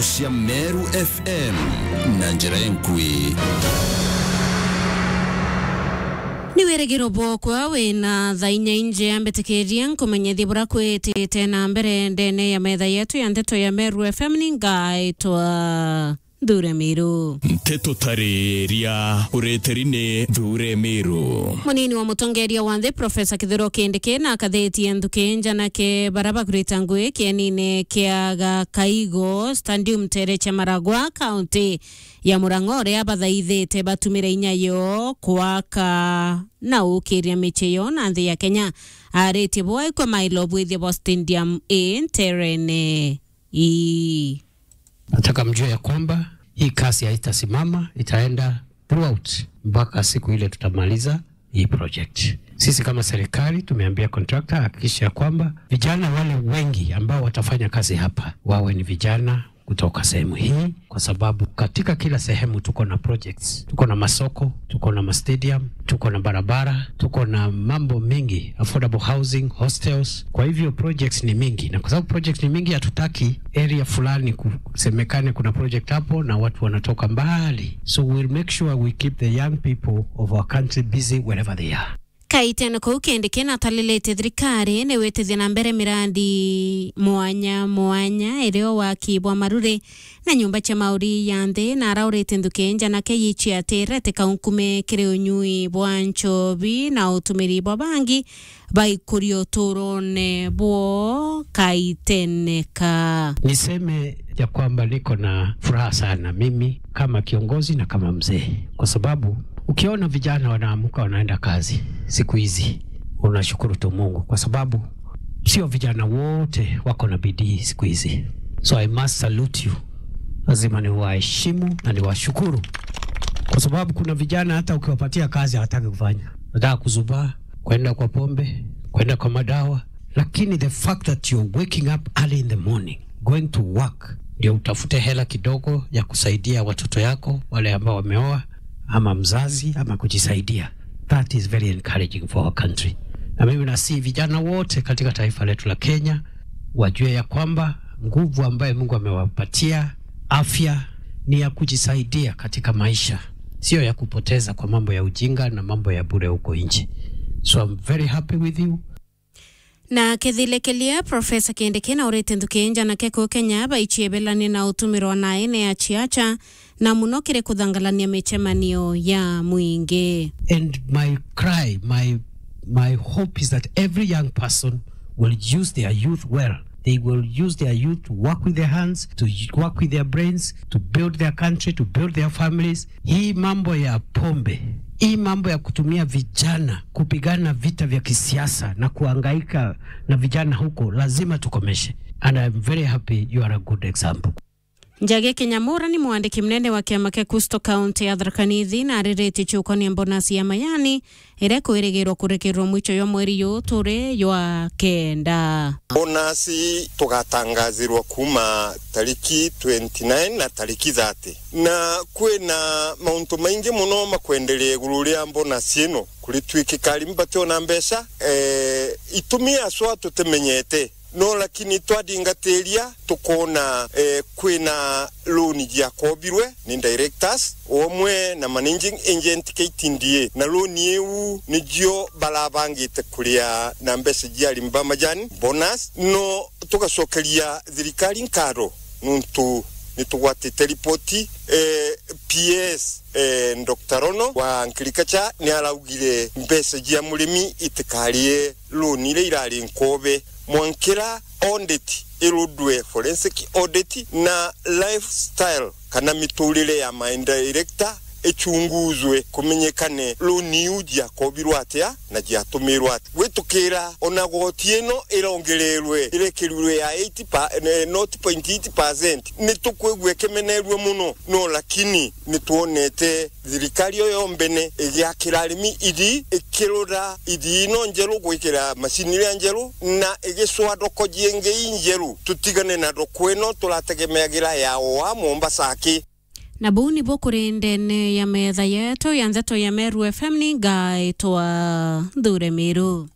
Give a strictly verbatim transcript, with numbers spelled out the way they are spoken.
Cia Meru F M na njira enkui. Ni wirigiro bwokwa wina thaa inya inje, ambitikiria nkumenyethie bura kwitite na mbere ndene ya metha yetu ya nteto ya Meru F M. Ni ngaitwa Nthure Miru. Nteto tariria ureteri ni Nthure Miru. Munini wa mutongeria wa nthi, Profesa Kithure Kindiki, na akathetie nthuki njanake bara bagurite ngui kienine kia Gakaigo Stadium tere cha Maragwa, kaunti ya Murang'a, uria abathaithite batumire inya yo kwaka na ukiria michii yo na nthi ya Kenya. Aritie bwa ikwa mailo bwithia bwa stadium i nterene ii. Nataka mjue ya kwamba hii kazi haitasimama, itaenda throughout mpaka siku ile tutamaliza hii project. Sisi kama serikali tumeambia contractor hakikisha ya kwamba vijana wale wengi ambao watafanya kazi hapa wawe ni vijana kutoka sehemu hii, kwa sababu katika kila sehemu tuko na projects, tuko na masoko, tuko na ma stadium, tuko na barabara, tuko na mambo mengi, affordable housing, hostels. Kwa hivyo projects ni mingi, na kwa sababu projects ni mingi, hatutaki area fulani kusemekane kuna project hapo na watu wanatoka mbali. So we'll make sure we keep the young people of our country busy wherever they are. Kaitene kau Kindiki natalilite thirikari ni witithia na mbere mirandi mwanya mwanya, irio waki bwa maruri na nyumba cia mauri ya nthi, na araurite nthuki njanake yichiatire ati kaunkume kiri unyui bwa nchobi na utumiri bwa bangi baikuria uturone bwo Kaitene ka. Niseme ya kwamba niko na furaha sana mimi kama kiongozi na kama mzee, kwa sababu ukiona vijana wanaamuka wanaenda kazi siku hizi, unashukuru tu Mungu, kwa sababu sio vijana wote wako na bidii siku hizi. So I must salute you. Lazima niwaheshimu na niwashukuru, kwa sababu kuna vijana hata ukiwapatia kazi hawataki kufanya, wanataka kuzubaa, kwenda kwa pombe, kwenda kwa madawa. Lakini the fact that you're waking up early in the morning, going to work, ndio utafute hela kidogo ya kusaidia watoto yako wale ambao wameoa, ama mzazi, ama kujisaidia, that is very encouraging for our country. Na mimi nasihi vijana wote katika taifa letu la Kenya wajue ya kwamba nguvu ambayo Mungu amewapatia, afya, ni ya kujisaidia katika maisha, sio ya kupoteza kwa mambo ya ujinga na mambo ya bure huko nje. So I'm very happy with you. Na kethile kelia, Profesa Kindiki naurite nthuki njanake ku Kenya baichie belanie na utumirwa na ene ya chiacha, na muno kiri kuthangalania michemanio ya mwingi. And my cry, my, my hope is that every young person will use their youth well. They will use their youth to work with their hands, to work with their brains, to build their country, to build their families. Hii mambo ya pombe, hii mambo ya kutumia vijana kupigana vita vya kisiasa na kuhangaika na vijana huko, lazima tukomeshe. And I'm very happy you are a good example. Njagi Kinyamura ni mwandiki munene wa kiama kia Kusto County ya Tharaka Nithi, na ariritie ciukonia bonasi ya mayani iria ikwirigirwa kurekerwa mwicho jwa mweri juu turi jwa kenda. Bonasi tugatangazirwa kuuma tariki twenty nine na tariki thirty, na kwina mauntu maingi muno makwenderea iguru ria bonasi ino. Kuritwikika arimi bationa mbeca, eh, itumi aswa tutimenyete. No lakini twadingatiria tukoona, eh, kwina loan jiakobirwe ni directors omwe na managing agent K T D A, na loan iu nijio barabangite kuria na mbeca jia arimi ba majani, bonus. No tugacokeria thirikari nkatho nuntu nitugwatite ripoti, eh, P S, eh, Doctor Rono wa Agriculture ni araugire mbeca jia murimi itikarie loan iria irari nkobe. Mwankira audit irudwe, forensic audit, na lifestyle kana miturire ya my director ichunguzwe, kumenyekane loan iu jiakobirwe atia na jiatumirwe atia. Gwitukira ona goti ino irongererwe, irekerirwe ya eight pa-, eh, nought point eight percent, nitukwigua ikimenerua muno, no lakini nitwonete thirikari iyo yombene igiakira arimi ithii, ikirura ithii ino njeru, gwikira macini iria njeru, na igicwaa thoko jingi injeru, tutigane na thoko ino turategemeagira ya oa Mombasa aki. Na buu nibu kuri ndene ya metha yetu ya ndeto ya Meru F M, ni ngaitwa Nthure Miru.